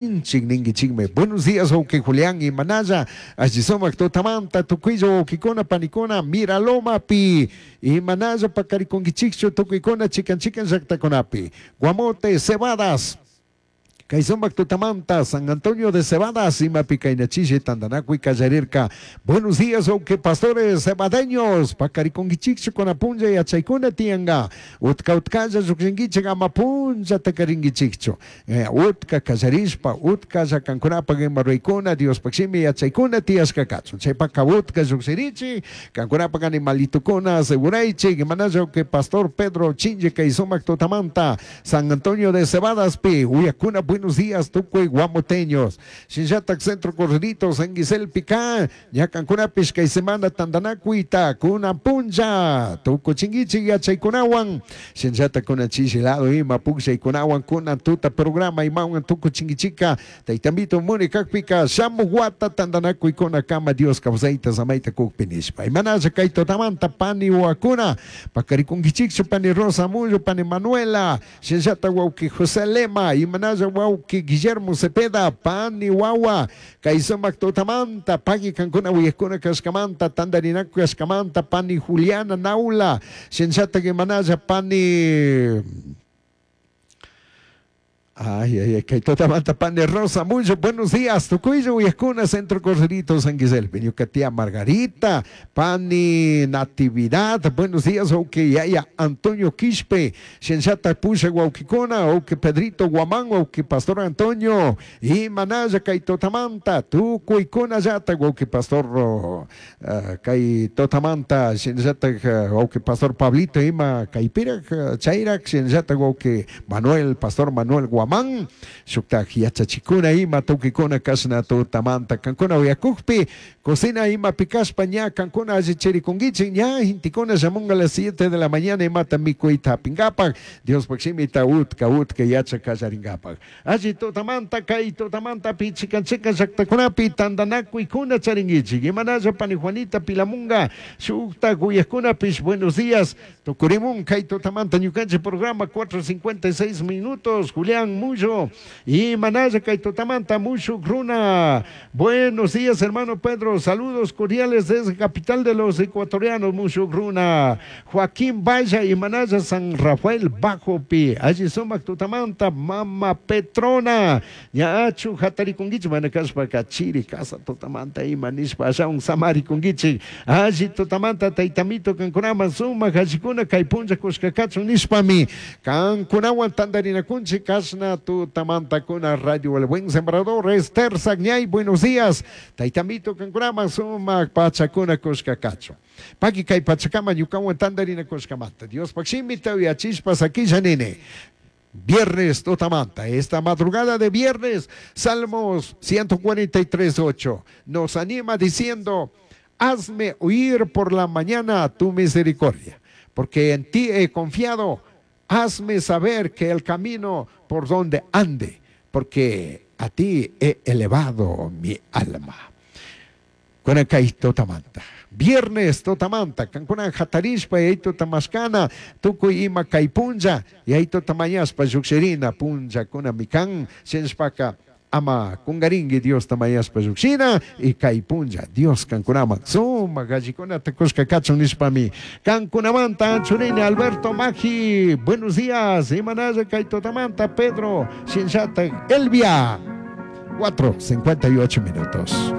Ninkichikmi. Buenos días, wawqi Julián y Manaya. Alli sumak tutamanta tukuylla wawqikuna panikuna Miralomapi. Y Manaya pakarikunkichikchu tukuykuna chikan chikan llaqtakunapi. Guamote, Cebadas. Kay sumak tutamanta San Antonio de Cebadas imapi kaynachishi tantanakuy kallarirka. Buenos días, wawqi pastores cebadeños. Pakarikunkichikchu kuna punlla yachaykuna tiyanka. Utka utkalla llukshinkichik ama punllata karinkichikchu. Utka kallarishpa, utka llakankunapak ima ruraykuna, Diospaj shimi yachaykuna tiyashka kachun. Chaypaka utka llukshirichik, kankunapak animalitukuna aseguraychik. Imanalla wawqi pastor Pedro Chinche kay sumak tutamanta San Antonio de Cebadaspi uyakuna buenos días tukuy guamoteños. Shinllatak Centro Correditos San Guiselpi ka ñakankunapish kay semana tantanakuyta kunan punlla tukuchinkichik yachaykunawan. Shinllatak kunan chishi lado ima pukllaykunawan kunan tuta programa imawan tukuchinkichika taytamito muni kakpika shamuj wata tantanakuykuna kama Dios kawsayta samayta kukpi nishpa. Imanalla kay tutamanta pani wawakuna pakarikunkichikchu pani Rosa Mullo, pani Manuela, shinllatak wawqi José Lema, imanalla wawqi Guillermo Cepeda, pani wawa, kay sumak tutamanta pagui kankuna uyakuna kashkamanta tantarinaku kashkamanta pani Juliana Naula, shinllatak imanalla pani Ay, ay, ay, kay tutamanta pani Rosa Mullo, buenos días, tukuylla uyakuna Centro Corderito San Guiselpi, ñuka tía Margarita, pani Natividad, buenos días, wawqi yaya Antonio Quispe, shinllatak pusha wawqikuna, wawqi Pedrito Guamán, wawqi Pastor Antonio, imanalla kay tutamanta, tukuykunallata wawqi Pastor kay tutamanta, shinllatak wawqi Pastor Pablito ima kaypirak, chayrak, shinllatak wawqi Manuel, Pastor Manuel Guamán, shuktak yachachikuna ima tukikuna kashna tutamanta kankuna uyakukpi cocina ima pikashpa ña kankuna allichirikunkichik ña gentekuna llamunga a las 7 de la mañana imata mikuyta hapinkapak Diospaj shimita utka utka yachak kallarinkapak. Alli tutamanta kay tutamanta chikan chikan llaktakunapi tantanakuykuna charinkichik. Imanalla pani Juanita Pilamunga shuktak uyakkunapish buenos días tukurimun kay tutamanta ñukanchik programa 4:56 minutos. Julián Mullo imanalla kay tutamanta mushuk runa. Buenos días, hermano Pedro, saludos cordiales desde capital de los ecuatorianos, mushuk runa. Joaquín Valla imanalla San Rafael Bajopi, alli sumak tutamanta mama Petrona, ñachu hatarikunkichik mana kashpaka chiri casa tutamanta ima nishpa ashawan samarikunkichik. Alli tutamanta taytamito kankunaman sumak allikuna kay punlla kushka kachun nishpami kankunawan tantarinakunchik kashna tutamantakuna Radio El Buen Sembrador. Esther Sagñay, buenos días, taytamito kankunaman sumak pachakuna kushka kachun. Paki kay pachakama ñukawan tantarinakushkamanta Diospaj shimita uyachishpa sakisha nini. Viernes tutamanta, esta madrugada de viernes, Salmos 143:8 nos anima diciendo: hazme oír por la mañana tu misericordia, porque en ti he confiado. Hazme saber que el camino por donde ande, porque a ti he elevado mi alma. Kay tutamanta. Viernes tutamanta, kankuna hatarishpa yaytuta tamashkana, tukuy ima kay punlla, yaytuta mañashpa llukshirina punllakuna mikan, shinashpaka ama kungarinki Diosta mañashpa llukshina y kay punlla Dios kankunaman sumak allikunata kushka kachun nishpami kankunamanta anchurini. Alberto Magi, buenos días, imanalla kay tutamanta Pedro, shinllatak Elvia. 4:58 minutos.